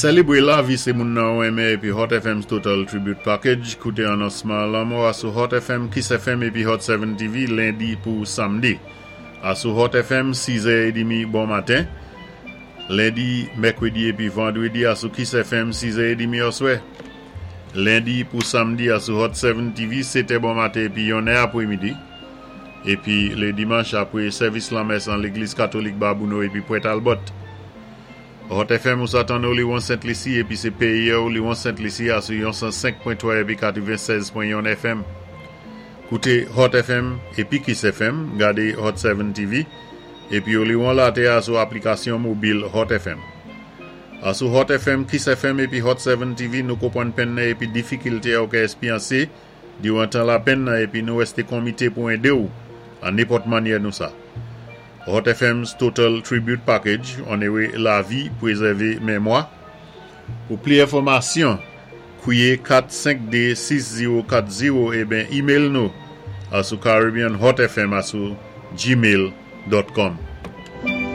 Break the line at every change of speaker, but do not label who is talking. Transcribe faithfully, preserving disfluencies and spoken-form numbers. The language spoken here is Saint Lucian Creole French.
Sélébwé lavi sé moun nan ou enmen épi Hot F M's Total Tribute Package. Kouté anonsman lanmò a sou Hot F M, Kiss F M épi Hot sept T V lendi pou samdi. A sou Hot F M sis è edmi bon maten. Lendi, mèkwédi épi vandwédi a sou Kiss F M sis è edmi oswè. Lendi pou samdi a sou Hot sept T V sèt è bon maten épi yon è apwémidi. Épi lé dimanch apwé sèvis lanmès an légliz katolik Babouno épi Pwent Albert. Hot F M ou sa tann Oli Sent Lisi épi sé péyi Oli Sent Lisi a sou san senk pwen twa épi katwennsèz pwen yon F M. Kouté Hot F M épi Kiss F M, gadé Hot sept T V épi oli won latè a sou aplikasyon mobil Hot F M. A sou Hot F M, Kiss F M épi Hot sept T V nou konpwann penn nan épi difikilté ou ka éspéryansé diwan tan lapenn nan épi nou èsté komité pou édé ou an nenpòt mannyè nou sa. Hot F M's Total Tribute Package, onoré lavi, pwézèvé mémwa. Pou pli enfòmasyon, kwiyé kat senk dé sis zewo kat zewo ében email nou a sou Caribbean Hot F M a sou gmail dot com.